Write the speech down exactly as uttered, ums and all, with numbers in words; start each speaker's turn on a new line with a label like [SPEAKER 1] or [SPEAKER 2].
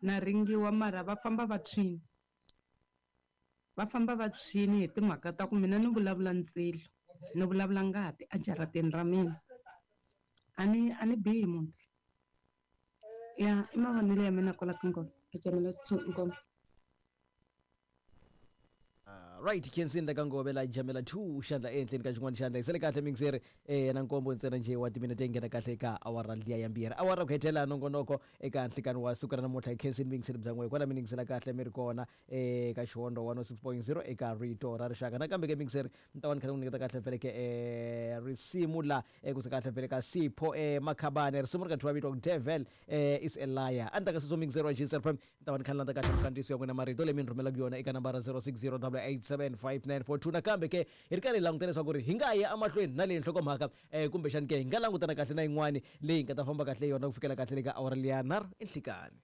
[SPEAKER 1] Na ringiwa mara va famba va tshwini. Va famba va tshwini hi timhaka ta ku mina ni vulavula ndzilo, ni vulavula ngati ejarateni ra mina. A ni a ni bihi munhu. Ya i mavonelo ya mina kwala ka ngoma. Jamela two Inkomu.
[SPEAKER 2] Uh, right khensini la ka ngove la jamela two xandla ehenhleni ka xin'wana xandla hi sele kahle mingiseri eh na nkombo ntsena njhe wa timinete yi nghena kahle eka awara liya ya mbirhi awara ku hetelela nongonoko eka nhlikani wa siku ra namuntlha hi khensini mingiseri bya n'we kwala mi ningisela kahle mi ri kona eka xihondo one oh six point zero eka rito ra rixaka nakambe ke mingiseri ni ta va ni kha ni ku nyiketa kahle vhele ke eh risimu la eh, kusuka kahle vhele ka Sipho eh Makhabane risimu ri ka thyiwa vito Devil eh, is a liar a ni ta ka sweswo mingiseri wa G S F M ni ta va ni kha ni landza kahle mikandziyiso ya n'wina marito leyi mi ni rhumelaka yona eka nambara zero six zero double eight seven five nine four two nakambe ke hi ri karhi hi langutela leswaku ri hi nga ya emahlweni na leyi nhlokomhaka eh, kumbexani ke hi nga langutana kahle na yin'wani leyi hi nga ta famba kahle yona ku fikela kahle le ka awara liya nharhu enhlikani.